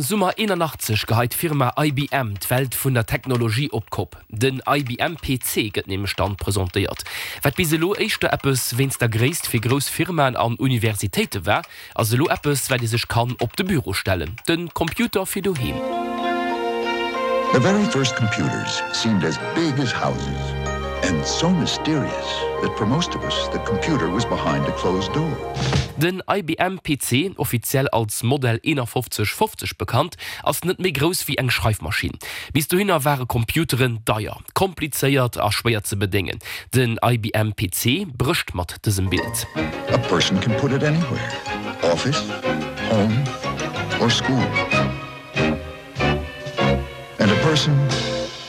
Summer 81 geheit d'Firma IBM d'Welt vun der Technologie op d'Kopp. Den IBM PC gëtt nämlech dann presentéiert. Wat bis elo éischter eppes wéinst der Gréisst fir grouss Firmaen an Universitéite war, ass elo eppes wat ee sech kann op de Büro stellen, de Computer fir doheem. The very first computers seemed as big as houses and so mysterious that for most of us the computer was behind a closed door. Den IBM PC, offiziell als Modell 5150 bekannt, ass net méi grouss wéi eng Schreifmaschinn. Bis dohinner ware Computeren deier, komplizéiert a schwéier ze bedéngen. Den IBM PC brécht mat dësem Bild. A person can put it anywhere, office, home or school. And a person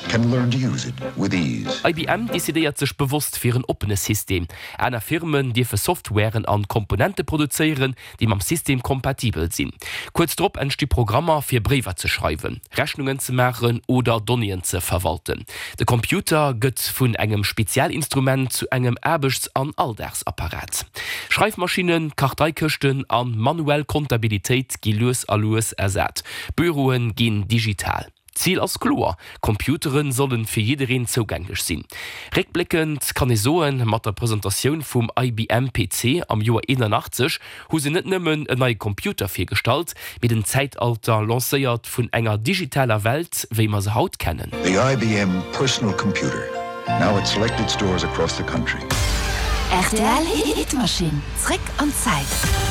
can learn to use it with ease. IBM decidéiert sech bewosst fir en oppene System. Aner Firmen dierfe Softwaren an Komponente produzéieren, déi mam System kompatibel sinn. Kuerz drop entsti Programmer fir Bréiwer ze schreiwen, Rechnungen ze maachen oder Donnéeën ze verwalten. De Computer gëtt vun engem Spezialinstrument zu engem Aarbechts an Alldagsapparat. Schreifmaschinnen, Karteikëschten a manuell Kontabilitéit gi lues a lues ersat. Büroe ginn digital. D'Zil ass kloer, Computere solle fir jiddereen zougänglech sinn. Réckbléckend kann ee soen, mat der Presentatioun vum IBM PC am Joer 81 hu se net nëmmen en neie Computer virgestallt, mee den Zäitalter lancéiert vun enger digitaler Welt, wéi mer se haut kennen. The IBM Personal Computer, now at selected stores across the country. Rtl Hitmachine, zréck an d'Zäit.